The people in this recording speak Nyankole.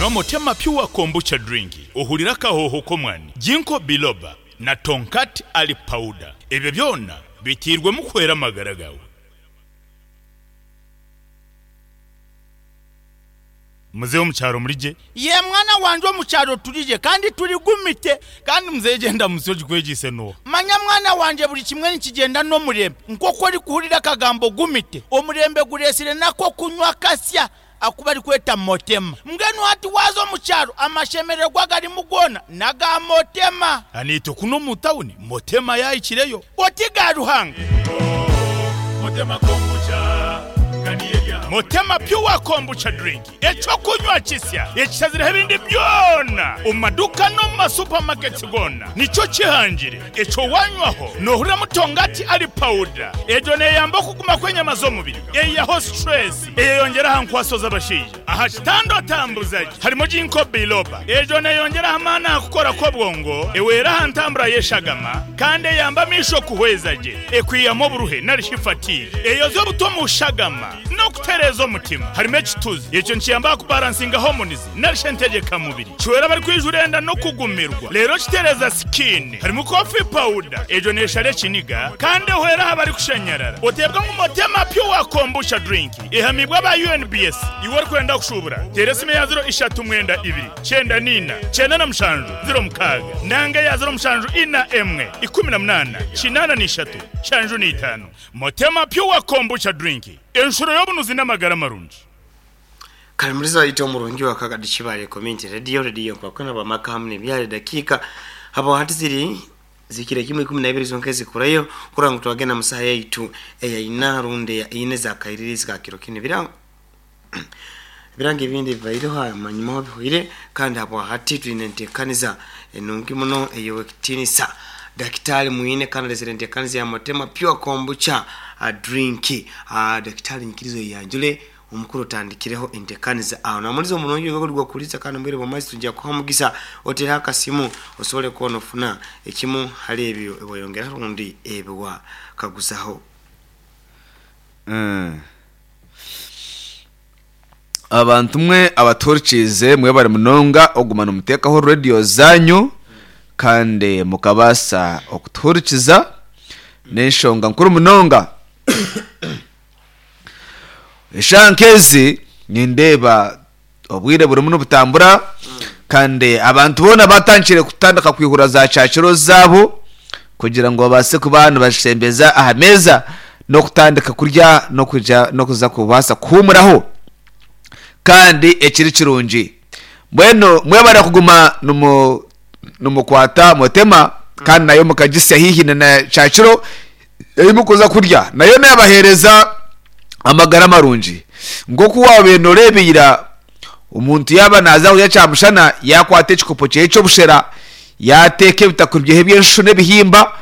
Nywa Motema Pure Kombucha Drink ohurire akahooho k'omwani, Ginkgo Biloba na Tongkat Ali Powder. Ebyo byona biteirwemu kuhwera amagara gaawe. Muzeeyi omu kyaro muri gye? Yee mwana wangye omu kyaro turi gye kandi turi gumite. Kandi muzeeyi egyo endamutsyo ogikwegyeise n'oha? Manya mwana wangye buri kimwe nikigyenda n'omurembe. Nk'oku orikuhurira akagambo gumite, omurembe gureetsire n'ak'okunywa kasya aku barikweta Motema. Mbwenu hati waaza omu kyaro amashemererwa agarimu goona n'aga Motema. Naitwe kunu omu tawuni Motema yaahikireyo. Oti ga Ruhanga. Motema Pure Kombucha Drink, eky'okunywa kisya ekishazireho ebindi byona omu maduuka n'omu ma supermarkets goona nikyo kihangire. Ekyo wanywaho nohuriramu tongati ali powder. Egyo neyamba okuguma kw'enyama z'omubiri, eyihaho stress, eyeyongyera aha nkwaso z'abashaija. Aha kitanda otambuza gye harimu Ginkgo biloba. Egyo neyongyera aha maani aha kukora kw'obwongo, ehwera aha ntambura y'eshagama, kandi eyamba amaisho kuhweza gye, ekwihamu oburuhe nari shi fatigue, eyoza obutwa omu shagama, n'okutereeza omutima. Harimu ekituzi, ekyo nikiyamba aha kubaransinga hormones nari shi entegyeka mubiri. Kihwera abarikwijura enda n'okugumirwa, reero kitereeza sikiini. Harimu coffee powder, egyo neeshara ekiniga kandi ehwera aha barikushanyarara. Oteebwa ngu Motema Pure Kombucha Drink ehamiibwe aba UNBS. Iwe orikwenda kushuubura, teera esimu eya ziro ishatu mwenda ibiri, kyenda n'ina, kyenda na mushanju, ziro mukaaga nanga eya ziro mushanju ina emwe, ikumi na munaana, kinaana na ishatu, nshanju na itaano. Motema Pure Kombucha Drink, enshuro y'obunuzi n'amagara marungi. Kare muriza waitu omurungi wa Kagadi Kibaale Community Radio, Radio Nkwakwana bwamaka hamu nebyare dakiika habo hati ziri zihikire kimwe 12 zonka ezikurayo kurora ngu twagenda mu saha yaitu eya ina rundi eya ina eza kairirizi ka kiro kinu. Ebira ebirango ebindi bibaireho amanyumaho bihwaire kandi habwa hati twine entekaniza enungi muno ey'owekitinisa Dakitari Mwine kandi alesere entekaniza ya Motema Pure Kombucha Drink. Dakitari nyikiriza oyeyanjule Omukuru otandikireho entekaniza aho namuliza omurungi oiwe guri gw'okuhuriza kandi omu bwire bw'amaizi twija kukuha omugisa otereho akasimu osobole kuba nofuna ekimu hali ebyo ebi wayongeraho rundi ebi wakaguzaho. Abantu mwe abatuhurikiize mwebare munonga okuguma nimuteekaho rediyo zaanyu kandi mukabaasa okutuhurikiza. N'enshonga nkuru munonga. Eshaaha nk'ezi nindeeba obwire burimu nibutambura kandi abantu boona batandikire kutandika kwihura za kyakiro zaabo kugira ngu babaase kuba nibazishembeza aha meeza n'okutandika kurya n'okuja n'okuza kubaasa kuhuumuraho kandi ekiri kirungi. Mbwenu mwebare kuguma nimu nimukwata mutema kandi nayo mukagisya haihi na kyakiro ei murikuza kurya nayo neebaheereza amagara marungi. Nk'oku waabaire nooreeba ira, omuntu yaaba naaza kurya kyamushana, yaakwata ekikopo kye ky'obushera, yaateeka ebitakuri bye eby'enshu n'ebihimba.